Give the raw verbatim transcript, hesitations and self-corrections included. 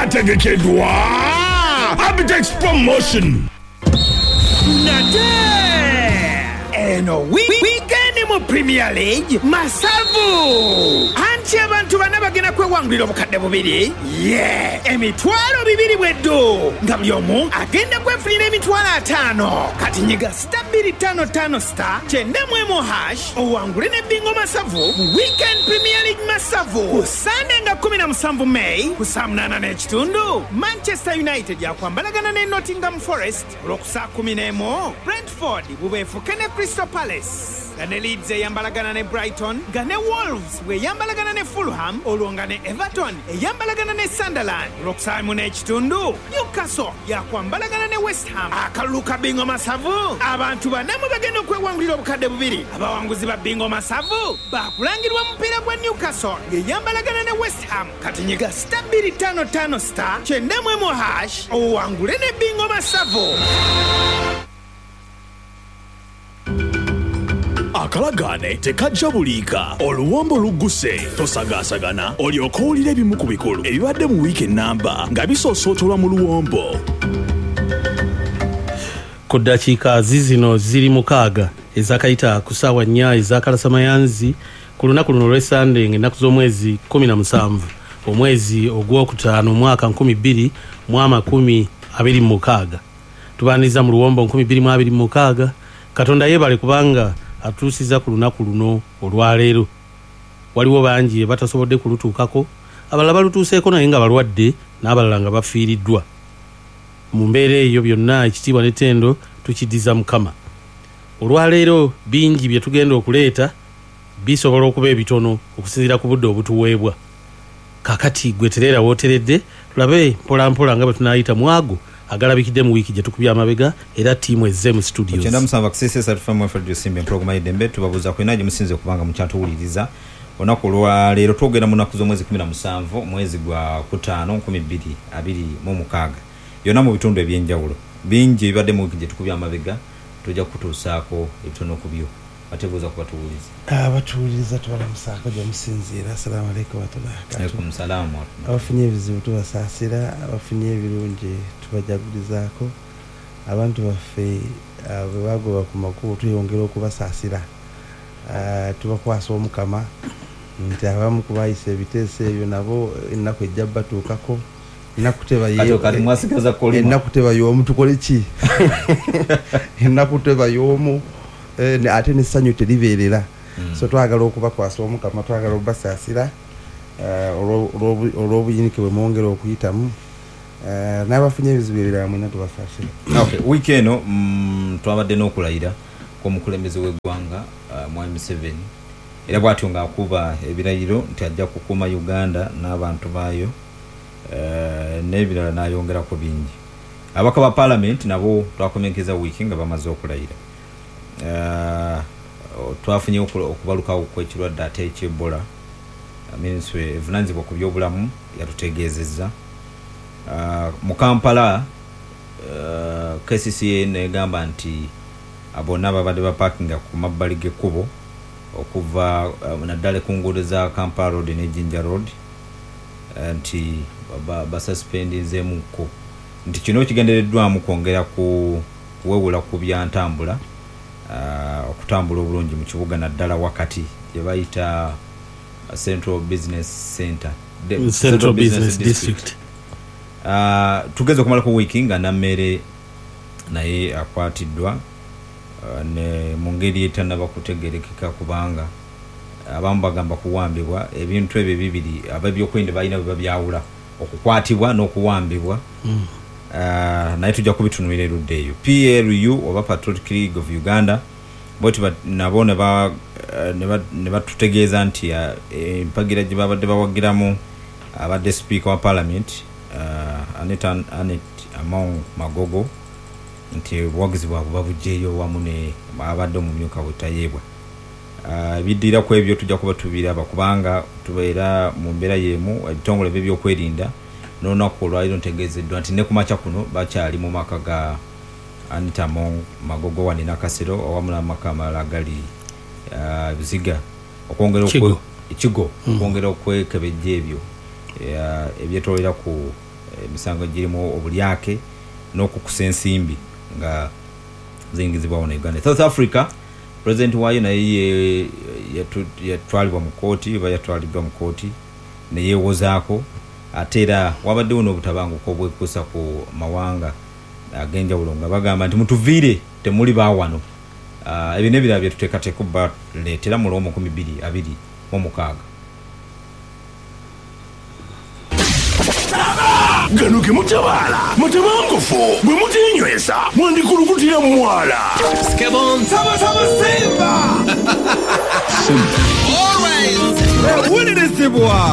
Ategekeddwa Abitex Promotion. Nate eno weekend mu Premier League masavu anti abantu bana bagenda kwewangulira obukadde bubiri ye emitwalo bibiri bweddo nga buli omu agenda kwefunira emitwalo ataano. Kati nyiga star bbiri ttaano ttaano star kyenda mu emu hash owangule ne bingo masavu mu weekend Premier League masavu ku Sunday nga kumi na musanvu May ku saa munaana n'ekitundu. Manchester United yakwambalagana ne Nottingham Forest olwokusaa kumi n'emu, Brentford bubeefuke ne Crystal Palace nga ne Leeds eyambalagana ne Brighton, nga ne Wolves bweyambalagana ne Fulham, olwo nga ne Everton eyambalagana ne Sunderland. Olwokusaamu n'ekitundu Newcastle yakwambalagana ne West Ham. Akalulu ka bingo masavu abantu banamu bagenda okwewangulira obukadde bubiri. Abawanguzi ba bingo masavu bakulangirwa mupiira gwa Newcastle ng'eyambalagana ne West Ham. Kati nyiga star bbiri ttaano ttaano star kyenda mu emu hash owangule ne bingo masavu. Akalagaane tekajja buliika, oluwombo lugguse, tosagaasagana olyoke owulire ebimu ku bikulu ebibadde mu wiiki ennamba nga bisoosootolwa mu luwombo. Ku ddakiika zizino ziri mukaaga ezakayita ku ssaawa nnya ezakalasamayanzi ku lunaku luno olw'Essande ng'ennaku z'omwezi kkumi na musanvu omwezi ogwokutaano omwaka nkumi bbiri mu amakumi abiri mu mukaaga. Tubaaniriza mu luwombo nkumi bbiri mu abiri mu mukaaga. Katonda yeebale kubanga atuusiza ku lunaku luno olwaleero. Waliwo bangi batasobodde kulutuukako, abalala balutuuseeko naye nga balwadde n'abalala nga bafiiriddwa. Mu mbeera eyo byonna ekitiibwa n'ettendo tukiddiza Mukama. Olwaleero bingi bye tugenda okuleeta bisobola okuba ebitono okusinziira ku budde obutuweebwa. Kakati gwe tereera wooteredde tulabe mpolampola nga bwe tunaayita mu ago agalabikidde mu wiiki gye tukubye amabega era ttiimu ezze mu studios. Kyenda musanvu akisese esatu famu Fred Simba empologoma y'eddembe tubabuuza kwena gye musinze kubanga mukyatuwuliriza. Olunaku olwaleero twogera mu nnaku z'omwezi kumi na musanvu mwezi gwa kutaano nkumi bbiri abiri mu mukaaga yonna mu bitundu ebyenjawulo bingi ebibadde mu wiiki gye tukubye amabega tujja kutuusaako ebitono ku byo. Batebuuza ku batuwuliriza. Abatuwuliriza tubalamusaako gye musinziira. Assalaamu alaikum warahmatullahi wabarakatuh. Alaikum salaamu warahmatullahi. Abafunye ebizibu tubasaasira, abafunye ebirungi tubajagulizaako. Abantu baffe bwe bagoba ku makubo tweyongera okubasaasira. Tubakwasa Omukama nti abamu ku baayisa ebiteeso ebyo nabo ennaku ejja batuukako. Ennaku teba y'omu tukole ki? Ennaku teba y'omu ate n'essanyu teribeerera. So twagala okubakwasa Omukama, twagala okubasaasira olw'obuyinike bwe mwongera okuyitamu. N'abafunye ebizibu ebirala mwenna tubasaasira. Okay, wiiki eno twabadde n'okulayira kw'omukulembeze w'eggwanga Mwami Museveni, era bw'atyo ng'akuba ebirayiro nti ajja kukuuma Uganda n'abantu baayo n'ebirala n'ayongerako bingi. Ababaka ba Paalamenti nabo twakomekeza wiiki nga bamaze okulayira. Uh, twafunye okubalukawo kw'ekirwadde ate eky'Ebola. Minisitule evunaanyizibwa ku byobulamu yatutegeezezza. Uh, mu Kampala uh, K C C A negamba nti bonna babadde bapakinga ku mabbali g'ekkubo okuva uh, naddala ku nguudo za Kampala Road ne Jinja Road uh, nti basuspendinzeemukko nti kino kigendereddwamu kwongera ku kuwewula ku byantambula Uh, okutambula obulungi mu kibuga naddala wakati gye bayita Central Business Center, The, Central, Central Business, Business District. Uh, tugeze okumalako wiiki nga Nammere naye akwatiddwa uh, ne mu ngeri etannaba kutegeerekeka kubanga abamu bagamba kuwambibwa. Ebintu ebyo bibiri ab'ebyokwerinda balina bwe babyawula, okukwatibwa n'okuwambibwa. Mm. Uh, naye tujja kubitunuulira erudda eyo. P L U oba Patriotic League of Uganda bwe nabo ne batutegeeza nti empagira gye babadde bawagiramu abadde sipiika wa Parliament uh, Annet Annet Among Magogo nti obuwagizi bwabwe babuggyeyo wamu ne abadde omumyuka we Tayeebwa. Ebiddira ku ebyo tujja kuba tubiraba kubanga tubeera mu mbeera y'emu ebitongole by'ebyokwerinda n'olunaku olwaleero ntegeezeddwa nti ne ku makya kuno bakyali mu maka ga Anita Among Magogo wano e Nakasero awamu n'amaka amalala agali Buziga okwongera Kigo okwongera okwekebejja ebyo ebyetoolera ku Emisango girimu obulyake n'okukusa ensimbi nga ziyingizibwa wano Uganda. South Africa, president waayo naye yatwalibwa mu kooti oba yatwaliddwa mu kooti neyeewozaako. Ate era wabaddewo n'obutabanguko obwekuusa ku mawanga ag'enjawulo nga bagamba nti mutuviire, temuli baawano. uh, ebyo n'ebirala byetuteekateeka baleetera mu lw'omu nkumi bbiri abiri mu mukaaga. Gano ge mutabaala mutabangufu, bwe mutenyweza mwandikulukutira mu mwala. Owulirizibwa.